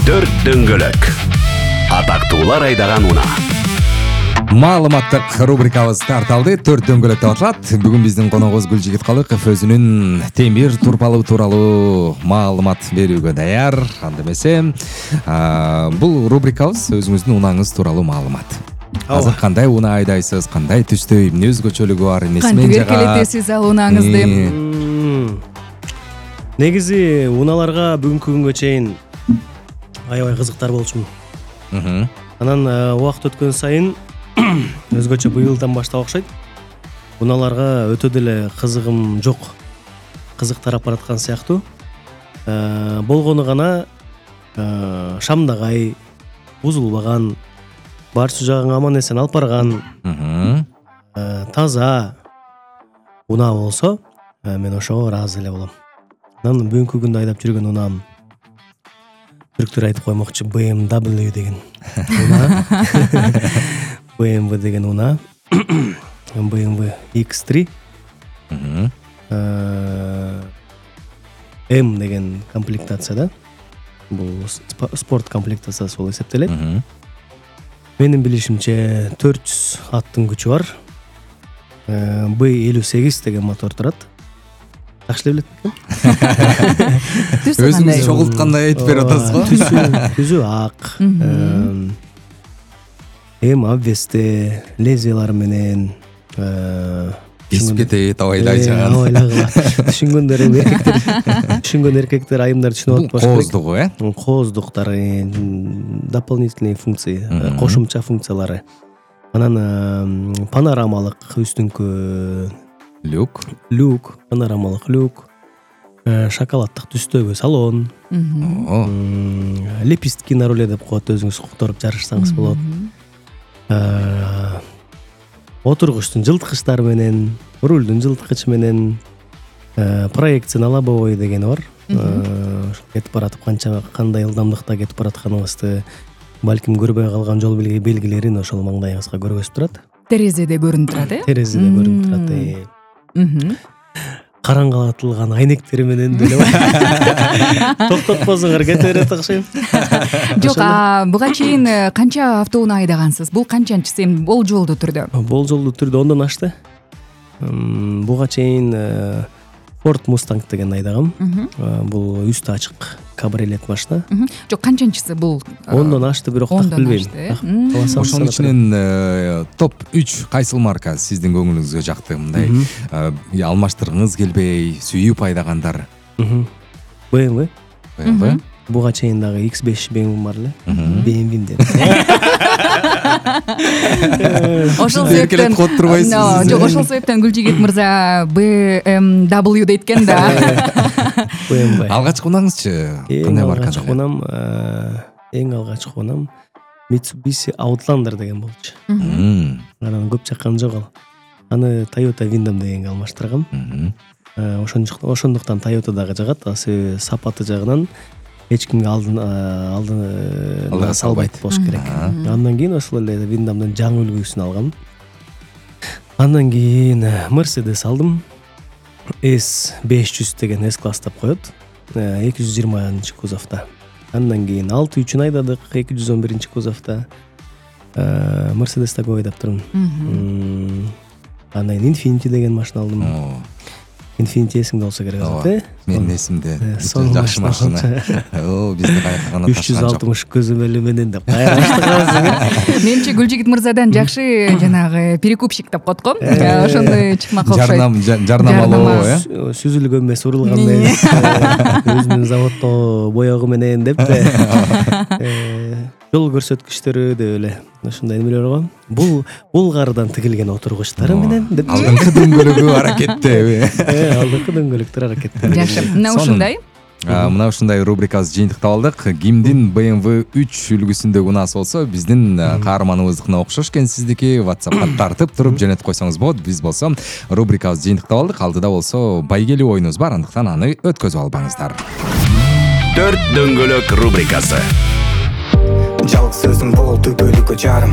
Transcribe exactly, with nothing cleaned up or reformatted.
Төрт дөңгөлөк. Атактуулар айдаган унаа. Маалыматтык рубрикабыз тарталды. Төрт дөңгөлөк деп аталат. Бүгүн биздин коногубуз Гүлжигит Калыков өзүнүн темир турпалуу тууралуу маалымат берүүгө даяр. Анда эмесе, бул рубрикабыз өзүңүздүн унааңыз тууралуу маалымат. Азыр кандай унаа айдайсыз, кандай түстө, эмне өзгөчөлүгү бар, эмнесинен жага? Кантип эркелетесиз ал унааңызды? Негизи унааларга бүгүнкү күнгө чейин аябай кызыктар болчумун. Анан убакыт өткөн сайын өзгөчө быйылдан баштап окшойт. Унааларга өтө деле кызыгым жок. Кызык тарап бараткан сыяктуу. Болгону гана шамдагай, бузулбаган, барча жагын аман эсен алып барган, таза унаа болсо, мен ошого ыраазы эле болом. Анан бүгүнкү күндө айдап жүргөн унаам түрктөр айтып коймокчу би эм дабл ю деген унаа. би эм ви деген унаа. би эм ви икс три. М деген комплектацияда. Бул спорт комплектациясы болуп эсептелет. Менин билишимче төрт жүз аттын күчү бар. би элүү сегиз деген мотор турат. Такшы эле билет бекем. Өзүңүз чогулткандай айтып берип атасыз го. Түзү, түзү ак. Эм обвесте, лезвиялары менен кесип кетет, абайдай жаган. Абайлагыла. Түшүнгөндөр эми эркектер, түшүнгөн эркектер айымдар түшүнүп атпаш керек. Кооздугу, э? Кооздуктары, дополнительные функции, кошумча функциялары. Анан панорамалык үстүңкү люк, люк, панорамалык люк, шоколаддык түстөгү салон, лепестки на руле деп коет, өзүңүз которуп жарышсаңыз болот. Отургучтун жылткычтары менен, рулдун жылткычы менен, проекция на лобовой дегени бар. Кетип баратып канча кандай ылдамдыкта кетип баратканыбызды балким көрбөй калган жол белгилерин ошол маңдайыңызга көргөзүп турат. Терезеде көрүнүп турат, э? Терезеде көрүнүп турат. Караңгылатылган айнектери менен деле токтотпосуңар кете берет окшойм. Жок, буга чейин канча автоунаа айдагансыз? Бул канчанчысы эми болжолдуу түрдө? Болжолдуу түрдө ондон ашты. Буга чейин Ford Mustang деген айдагам. Бул үстү ачык кабриолет машина. Жок, канчанчысы бул? Ондон ашты, бирок так билбейм. Ошонун ичинен топ үч кайсыл марка сиздин көңүлүңүзгө жакты? Мындай алмаштыргыңыз келбей, сүйүп айдагандар. би эм ви. би эм ви. Буга чейин дагы икс беш би эм ви бар эле. би эм ви деп. Ошол себептен кот турбайсыз. Жок, ошол себептен Гүлжигит мырза би эм дабл ю дейткен да. би эм ви. Алгачкы унаңызчы кандай маркада? Алгачкы унам, эң алгачкы унам Mitsubishi Outlander деген болчу. Анан көп чаккан жок ал. Аны Toyota Windom дегенге алмаштыргам. Ошондуктан Toyota дагы жагат, сапаты жагынан эч кимге алдын алдын салбайт болуш керек. Андан кийин ошол эле Windомдун жаңы үлгүсүн алгам. Андан кийин Mercedes алдым. эс беш жүз деген S класс деп коет. эки жүз жыйырманчы кузовто. Андан кийин алты үчүн айдадык, эки жүз он биринчи кузовто. Mercedes-те көп айдап турмун. Андан кийин Infiniti деген машина алдым. Infiniti эсиңде болсо керек азат, э? Менин эсимде. Жакшы машина. О, бизди кайткандан үч жүз алтымыш көзөмөлү менен деп кайраштыгабыз. Менимче Гүлжигит мырзадан жакшы жанагы перекупщик деп коет го. Ошондой чыкмак окшойт. Жарнам, жарнамалоо, э? Сүзүлгөн эмес, урулган эмес. Өзүнүн заводдо боёгу менен деп жол көрсөткүчтөрү деп эле ушундай эмелер бар. Бул булгардан тигилген отургучтары менен деп. Алдыңкы дөңгөлөгү аракеттеби? Э, алдыңкы дөңгөлөктөр аракетте. Жакшы. Мына ушундай. Мына ушундай рубрикабыз жыйынтыктап алдык. Кимдин би эм ви үч үлгүсүндөгү унаасы болсо, биздин каарманыбыздыкына окшош экен сиздики WhatsAppка тартып туруп жөнөтүп койсоңуз болот. Биз болсо рубрикабызды жыйынтыктап алдык. Алдыда болсо байгелүү оюнубуз бар, андыктан аны өткөзүп албаңыздар. Төрт дөңгөлөк рубрикасы. Жалгыз сөзүң бол түбөлүккө жарым.